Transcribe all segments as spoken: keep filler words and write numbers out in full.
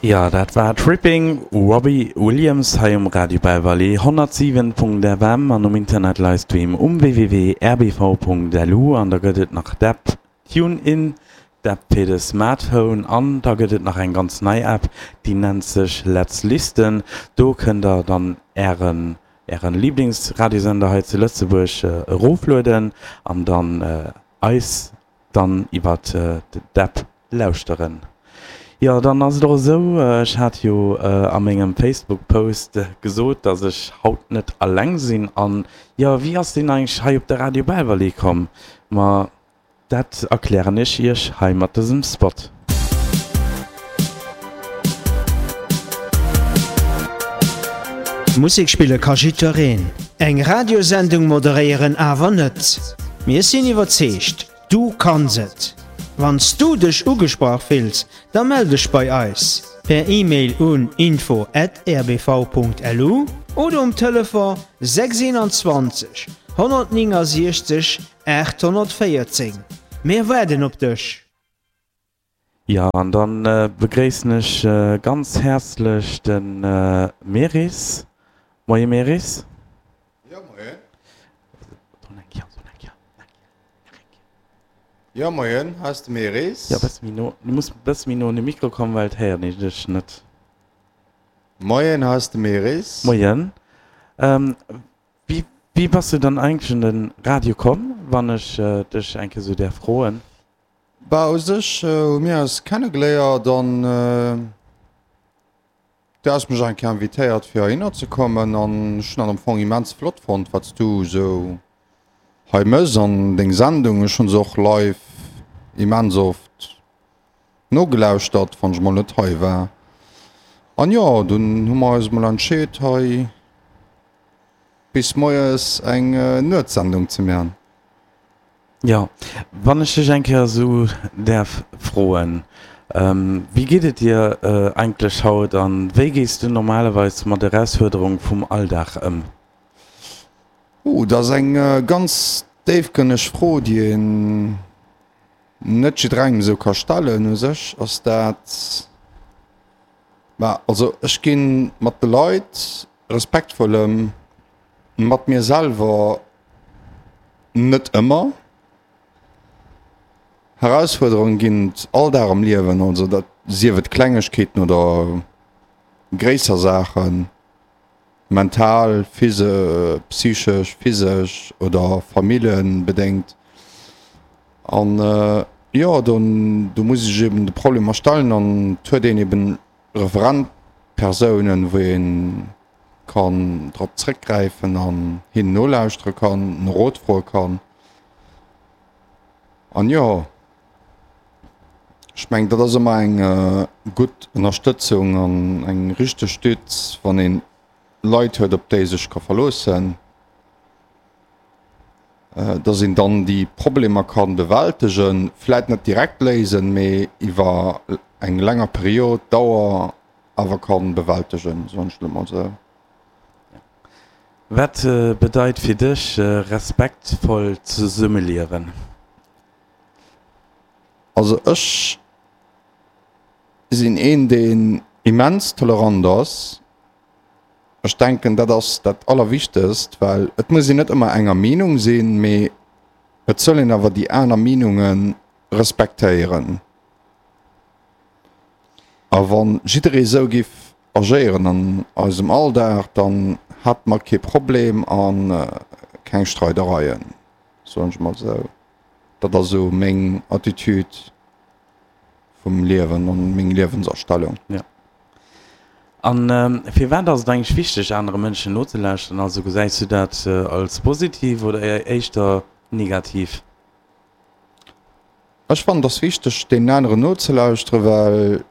Jo, dat war Tripping Robbie Williams hei um Radio Belval honnertsiwen Punkt F M an um Internet Livestream um W W W Punkt R B V Punkt L U an da gëtt et nach d'App TuneIn, d'App fir de Smartphone, an da gëtt et nach eng ganz nei App, déi nennt sech Let's Listen. Do kënnt der dann ären ären Liblingsradiosender hei zu Lëtzebuerg eroflueden an dann eis dann iwwert d'App lauschteren. Jo, dann ass et och esou, ech hat jo a mengem Facebook Post gesot, dass ech haut net alleng sinn. An jo, wéi ass deen eigentlech hei op de Radio Belval komm? Ma dat erklären ech iech hei mat dësem Spot. Musek spille ka jiddwereen, eng Radiosendung moderéieren awer net. Mir sinn iwwerzeegt, du kanns et! Wann s du dech ugesprach fills, da mell dech bei eis per E-Mail un info at R B V Punkt L U oder um Telefon sechs einundzwanzeg honnertnéngensechzeg aathonnertvéierzéng. Mir waarden op dech! Jo, an dann begréissen ech ganz häerzlech de Meris. Moie Meris. Jo, moien. Jo, moien, hei ass de Meris. Jo, bësse méi no, du muss bësse méi no un de Mikro kommen, well et héiert een dech net. Moien, hei ass de Meris. Moien. Wéi, wéi bass du dann eigentlech un de Radio komm, wann ech dech eng Kéier esou däerf froen? Bah, u sech hu mir eis kennegeléiert an du has mech eng Kéier invitéiert fir heihinner ze kommen an ech hunn dat am Fong immens flott fonnt, wat s du esou hei mëss an deng Sendung. Ech hunn se och live immens oft nogelauschtert, wann ech mol net hei war. An jo, dunn hu mer eis mol entscheet hei bis moies eng Nuetssendung ze man. Jo, wann ech dech eng Kéier esou däerf froen, wéi geet et dir eigentlech haut an wéi gees du normalerweis mat Erausfuerderung vum Alldag ëm? Uh, dat ass eng ganz déifgrënneg Fro, déi een net jidderengem esou ka stellen. U sech ass dat, ma also ech gi mat de Leit respektvoll ëm, mat mir selwer net ëmmer. Herausfuerderunge ginn et all Dag am Liewen, also dat sief et Klengegkeeten oder gréisser Saachen, mental, phys-, psychesch, physesch oder familljenbedéngt. An jo, do do muss ech eben de Problemer stellen an et huet een eben Referentpersounen, wou ee kann drop zréckgräifen an hinnen nolauschtere kann, no Rot froe kann. An jo, ech mengen, dat ass ëmmer eng gutt Ënnerstëtzung an eng richteg Stütz, wann een Leit huet, op déi ee sech ka verloossen, dass een dann déi Problemer kann bewältegen, vläit net direkt léisen, mee iwwer eng länger Period, Dauer awer kann bewältegen, soen ech elo mol esou. Wat bedeit fir dech respektvoll zesummeliewen? Also ech sinn een, deen immens tolerant ass. Ech denken, dat ass dat Allerwichtegst, well et muss een net ëmmer enger Meenung sinn, mee et soll een awer déi aner Meenunge respektéieren. A wann jidderee esou giff agéieren an eisem Alldag, dann hätte mer kee Problem a keng Streidereien, soen ech mol esou. Dat ass esou meng Attitude vum Liewen an meng Liewensastellung. Ja. An firwat ass et eigentlech wichteg, anere Mënschen nozelauschteren? Also gesäis du dat als positiv oder éischter negativ? Ech fannen, et ass wichteg, deenen aneren nozelauschteren, well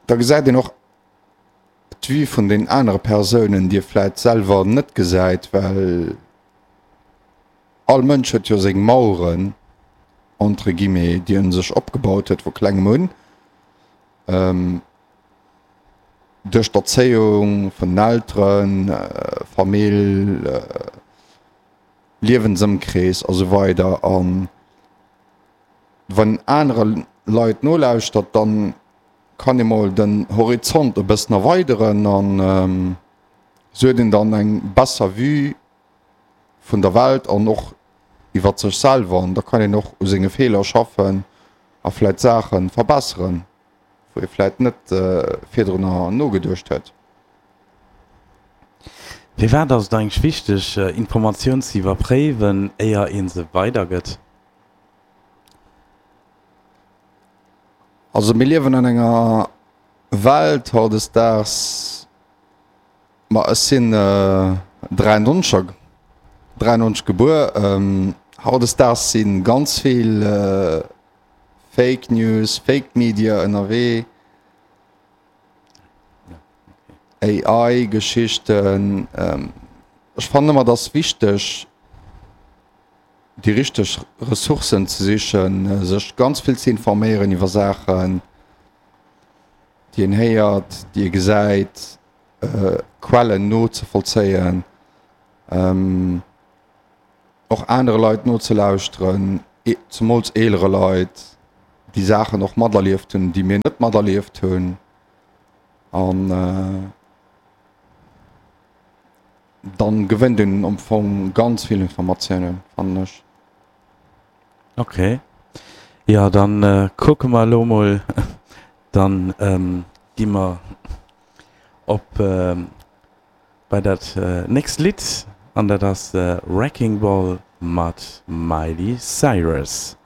da gesäit een och d'Vue vun den anere Persounen, déi ee vläit selwer net gesäit, well all Mënsch huet jo seng Maueren, entre guillemets, déi en sech opgebaut huet vu klengem un, duerch d'Erzéiung vun den Elteren, Famill, Liewensëmkrees a sou weider. An wann een anere Leit nolauschtert, dann kann ee mol den Horizont e bëssen erweideren an sou huet een dann eng besser Vue vun der Welt an och iwwert sech selwer an da kann een och u senge Feeler schaffen a vläit Saache verbesseren, wou ee vläit net virdrunner nogeduecht huet. Firwat ass et eigentlech wichteg, Informatioun ze iwwerpréiwen, éier ee se weidergëtt? Also mir liewen an enger Welt hautdesdaags, ma ech sinn dräiundnonzeg, dräiundnonzeg gebuer, hautdesdaags si ganz vill Fake News, Fake Media ënnerwee, A I-Geschichten. Ech fannen ëmmer, et ass wichteg, déi richteg Ressourcen ze sichen, sech ganz vill ze informéieren iwwer Saachen, déi een héiert, déi ee gesäit, Quellen nozevollzéien, och anere Leit nozelauschteren, zemools eelere Leit, déi Saachen och materlieft hunn, déi mir net materlieft hunn. An dann gewënnt een am Fong ganz vill Informatiounen, fannen ech. Ok, jo dann kucke mer elo mol, dann gi mer op bei dat nächst Lidd an dat ass Wrecking Ball mat Miley Cyrus.